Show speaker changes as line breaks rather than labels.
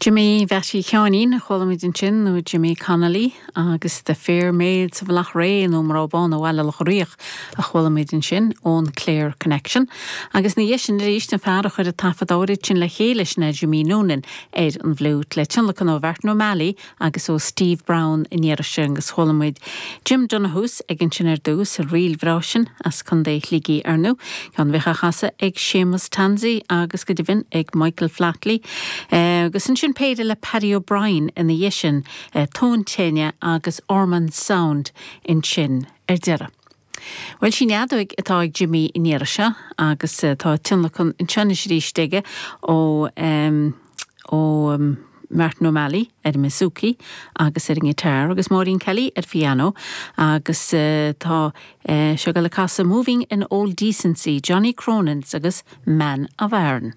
Jimí Mheaití Sheáinín a chuala muid ansin, nó Jimmy Connolly, agus The Fair Maids of Loughrea, nó Mná Bána Bhaile Locha Riach, a chuala muid ansin ón Clare Connection. Agus ina dhiaidh sin arís, an fear a chuir an taifead áirid sin le chéile, sin é Jimí Noonan ar an bhfliúit, le tionlacan ó Mhartin O'Malley agus ó Steve Browne an iarraidh seo agus chuala muid Jim Donohues aige ansin ar dtús, an ríl bhreá sin as Contae Shligigh ar ndú, ceann a bhíodh á chasadh ag Séamus Tansey agus go deimhin ag Michael Flatley. Agus ansin péire le Paddy O'Brien ina dhiaidh sin, Tóin Tine agus Ormonde Sound ansin ar deireadh. Bhuel, sí an fheadóig atá ag Jimí an iarraidh seo agus tá tionlacan anseo anois arís aige ó ó Martin O'Malley ar an mbouzouki agus ar an ngiotár agus Maureen Kelly ar phiano agus tá sé ag dul ag casadh Moving in Old Decency, Johnny Cronin's agus Man of Aran.